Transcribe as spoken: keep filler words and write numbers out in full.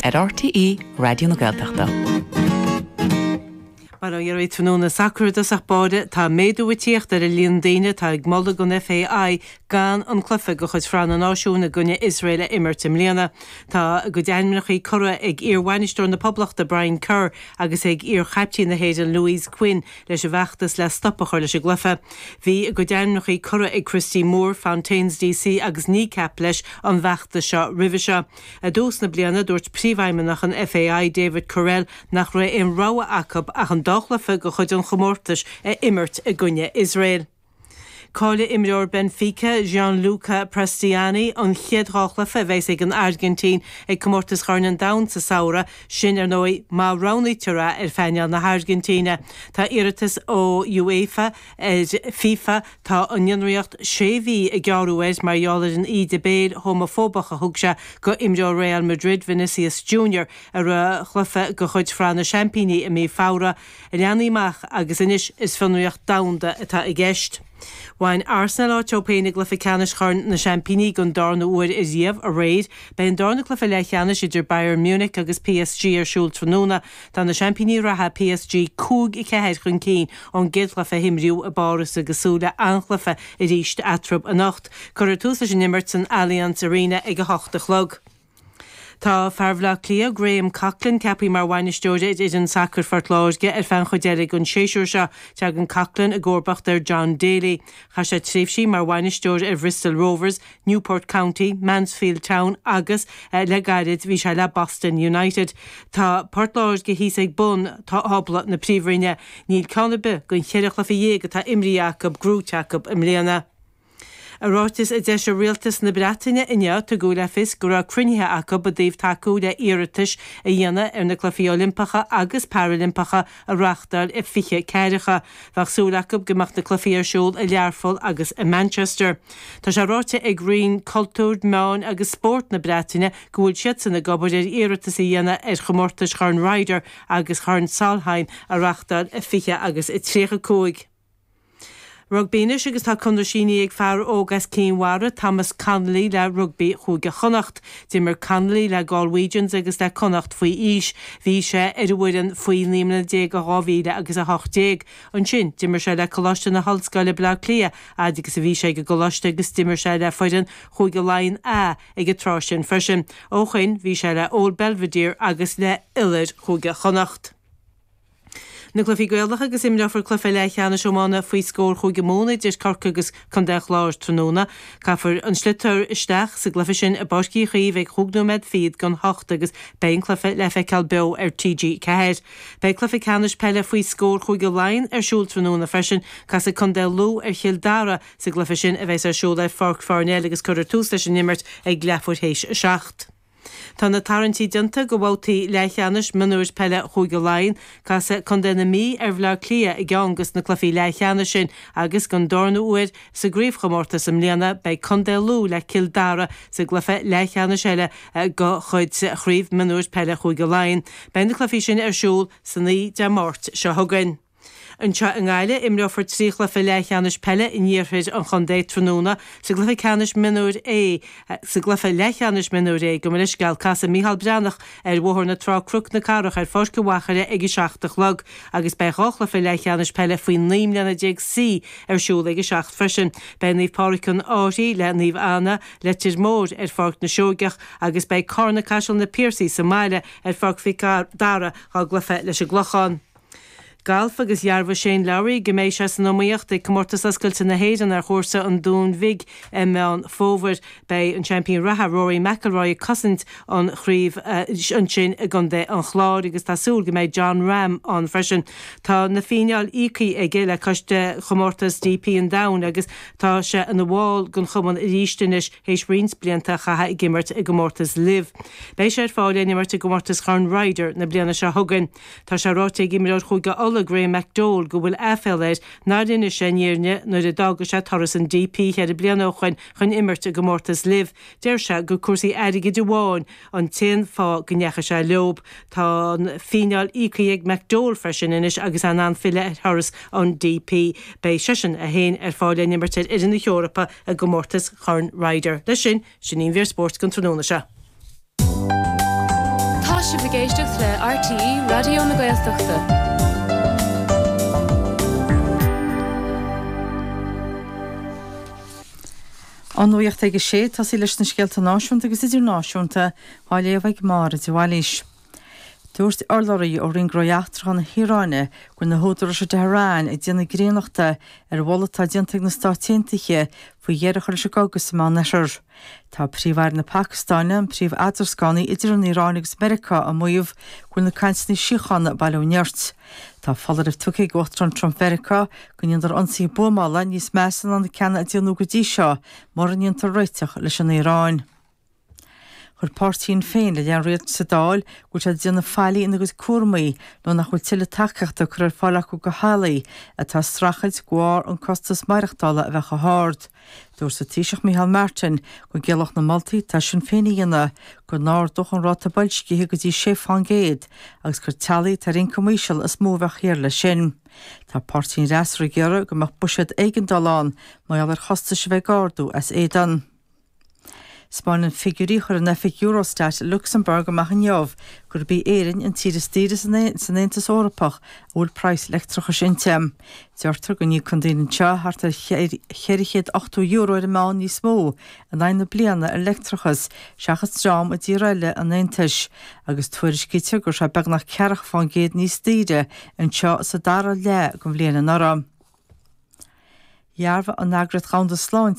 ar RTÉ Raidió na Gaeltachta. Mar ó dhéirí tráthnóna sacair i dtosach báire tá méadú ag tíocht ar an líon daoine atá ag moladh don FAI gan an cluiche de chuid Shraith na Náisiún i gcoinne Iosrael a imirt i mbliana. Tá a gcuid ainmneacha curtha ag iarbhainisteoir na Poblachta Brian Kerr agus ag iarchaiptín na hÉireann Louise Quinn leis an bhfeachtas le stop a chur leis an gcluiche. Bhí a gcuid ainmneacha curtha ag Christy Moore, Fontaines DC agus Kneecap leis an bhfeachtas seo roimhe seo. I dtús na bliana dúirt príomhfheidhmeannach an FAI David Courell nach raibh aon rogha acu ach an dá chluiche de chuid an chomórtais a imirt i gcoinne Iosrael. Caillfidh imreoir Benfica Gianluca Prestianni an chéad dhá chluiche a bheas ag an Airgintín ag comórtas Chorn an Domhain sa samhradh sin ar ndóigh má roghnaítear é ar phainéal na hAirgintíne. Tá iarratas ó UEFA ar FIFA tá an fhionraíocht sé mhí a gearradh air mar gheall ar an íde béil homafóbach a thug sé go imreoir Real Madrid Vinicius Junior ar a chluiche de chuid Shraith na Seaimpíní i mí Feabhra a leanaí amach agus anois is fionraíocht domhanda atá i gceist. Bhain Arsenal áit dóibh féin i gcluiche ceannais Chorn na Seaimpíní don darna huair riamh aréir, Beidh an darna cluiche leathcheannais idir Bayern Munich agus PSG ar siúl tráthnóna, Tá na seaimpíní reatha PSG cúig a ceathair chun cinn ón gcéad chluiche a imríodh i bPáras agus súil le an-chluiche arís eatarthu anocht. Cuirfear tús leis an imirt san Allianz Arena ag a hocht a chlog. Tá fear Bhaile Átha Cliath Graham Coughlan ceaptha mar bhainisteoir ar fhoireann sacair Phort Láirge ar feadh an chuid eile den séasúr seo tagann Coughlan i gcomharbacht ar John Daly. Chaith sé tréimhsí mar bhainisteoir ar Bristol Rovers, Newport County, Mansfield Town agus eh, le gairid bhí sé le Boston United. Tá Port Láirge thíos ag bun tábla na príomhroinne, níl ceann ar bith den cheithre chluiche dhéag atá imrithe acu gnóthaithe acu i mbliana. I ráiteas a d'eisigh rialtas na Breataine inniu tugadh le fios go raibh cruinnithe acu i dtaobh tacú le hiarratais a dhéanamh ar na Cluichí Oilimpeacha agus Parailimpeacha a reáchtáil i fiche ceathracha. Bheadh súil acu go mbeadh na cluichí ar siúl i Learpholl agus i Manchester. Tá sé ráite ag Roinn Cultúir, Meán agus Spórt na Breataine go bhfuil siadsan ag obair ar iarratas a dhéanamh ar chomórtais Chorn Ryder agus Chorn Solheim a reáchtáil i fiche agus i tríocha cúig. Rugbaí anois agus tá conradh sínithe ag fear óg as Cinn Mhara, Thomas Connolly le rugbaí Chúige Chonnacht. D'imir Connolly le Galwegians agus le Connacht faoi aois. Bhí sé ar an bhfoireann faoi naoi mbliana déag i dhá mhíle agus a hocht déag. Ansin, d'imir sé le Coláiste na hOllscoile Baile Átha Cliath, fhad agus a bhí sé ag an gcoláiste agus d'imir sé le foireann Chúige Laighean A ag an tráth sin freisin. Ó shin, bhí sé le Old Belvedere agus le Iolair Chúige Chonnacht. Na cluichí Gaelacha agus imreofar cluiche leathcheannais iomána faoi scór Chúige Mumhan idir Corcaigh agus Contae an Chláir tráthnóna. Caithfear an sliotar isteach sa gcluiche sin i bPáirc Uí Chaoimh ag chúig nóiméad fichead don hocht agus beidh an cluiche le feiceáil beo ar TG Ceathair. Beidh cluiche ceannais peile faoi scór Chúige Laighean ar siúl tráthnóna freisin, casfaidh Contae Lú ar Chill Dara sa gcluiche sin a bheas ar siúl ar Pháirc Pharnell agus cuirfear tús leis an imirt ag leathuair théis a seacht. Tá na tarraingtí déanta do bhabhtaí leathcheannais mionúir peile Chúige Laighean, casfaidh Contae na Mí ar Bhaile Átha Cliath i gceann de na cluichí leathcheannais sin agus don darna huair sa gcraobhchomórtas i mbliana beidh Contae Lú le Cill Dara sa gcluiche leathcheannais eile de chuid chraobh mionúir peile Chúige Laighean. Beidh na cluichí sin ar siúl san oíche Dé Máirt seo chugainn. Anseo i nGaillimh imreofar trí chluiche leathcheannais peile in iarthar an chontae tráthnóna sa gcluiche ceannais mionúir A sa gcluiche leathcheannais mionúir A gabh mo leithscéal casfaidh Micheál Breathnach ar Bhóthar na Trá Cnoc na Cathrach ar Pháirc an Mhachaire ag a seacht a chlog agus beidh dhá chluiche leathcheannais peile faoi naoi mbliana déag C ar siúl ag a seacht freisin. Beidh Naomh Pádraig an Fhairche le Naomh Anna Leitir Móir ar Pháirc na Seoigeach agus beidh Carna Caiseal na Piarsaigh sa mbaile ar Pháirc Mhic Dara dá gcluiche leis an gClochán. Galf agus dhearbhaigh Shane Lowry go mbeidh sé san iomaíocht ag comórtas oscailte na hÉireann ar chúrsa an Dúin Bhig i Meán Fómhair. Beidh an seaimpín reatha Rory McIlroy ag cosaint an chraobh ansin i gContae an Chláir agus tá súil go mbeidh Jon Rahm ann freisin. Tá na fíneáil íoctha aige le coiste chomórtas DP an Domhain agus tá sé ina bhall den chumann arís anois théis roinnt blianta a chaitheamh ag imirt i gcomórtas LIV. Beidh sé ar fáil in imirt i gcomórtas Chorn Ryder na bliana seo chugainn. Tá sé ráite ag imreoir Chúige Uladh Graham McDowell go bhfuil aiféala air nár inis sé an fhírinne nuair a d'fhág sé turas an DP cheithre bliana ó shin chun imirt i gcomórtas LIV. Deir sé gur cúrsaí airgid amháin an t-aon fáth go ndeachaigh sé leob. Tá an fíneáil íoctha ag McDowell freisin anois agus é in ann filleadh ar thuras an DP. Beidh seisean é féin ar fáil in imirt ar fhoireann na hEorpa i gcomórtas Chorn Ryder. Leis sin, sin í an mhír spóirt don tráthnóna seo. Tá sibh ag éisteacht le RTÉ Raidió na Gaeltachta. An nuacht ag a sé tosaí leis na scéalta náisiúnta agus idirnáisiúnta á léamh ag Máire de Bhailís. Dúirt urlabhraí ó Roinn Gnóthaí Eachtracha na hIaráine go bhfuil na húdaráis i dTehran ag déanamh grínachta ar mholadh atá déanta ag na Stáit Aontaithe faoi dheireadh a chur leis an gcogadh sa Meánoirthear. Tá Príomh-Aire na Pacastáine, an príomh-eadrascánaí idir an Iaráin agus Meiriceá, ag maíomh go bhfuil na cainteanna síochána ag bail ó nirt. Tá foláireamh tugtha ag Uachtarán Trump Mheiriceá go ndéanfar ionsaithe buamála níos measa ná na ceanna a déanadh go dtí seo mura ndéantar réiteach leis an Iaráin. Chuir páirtí Shinn Féin i leith an rialtais sa Dáil go bhfuil siad ag déanamh faillí ina gcuid cúramaí nuair nach bhfuil tuilleadh tacaíochta curtha ar fáil acu do theaghlaigh atá ag streachailt de bharr an costas maireachtála a bheith chomh hard. Dúirt an Taoiseach Micheál Martin go gciallódh na moltaí atá Sinn Féin a dhéanamh go n-ardódh an ráta boilscithe go dtí sé fán gcéad agus gur teaghlaigh atá ar ioncam íseal is mó a bheadh thiar leis sin. Tá páirtí an fhreasúra ag iarraidh go mbeadh buiséad éigeandála ann mar gheall ar chostais a bheith ag ardú as éadan. 'Spáineann figiúirí a chuir an oifig Eurostat i Lucsamburg amach inniu gurb í Éirinn an tír is daoire san Aontas Eorpach a bhfuil praghas leictreachais inti. Deirtear go n-íocann daoine anseo thart ar cheithre chéad ochtó euro ar an meán níos mó in aghaidh na bliana ar leictreachas seachas dream i dtír eile an Aontais agus tuairiscítear go raibh sé beagnach ceathracha fán gcéad níos daoire anseo sa dara leath den bhliain anuraidh. Dhearbhaigh an Eagraíocht Dhomhanda Sláinte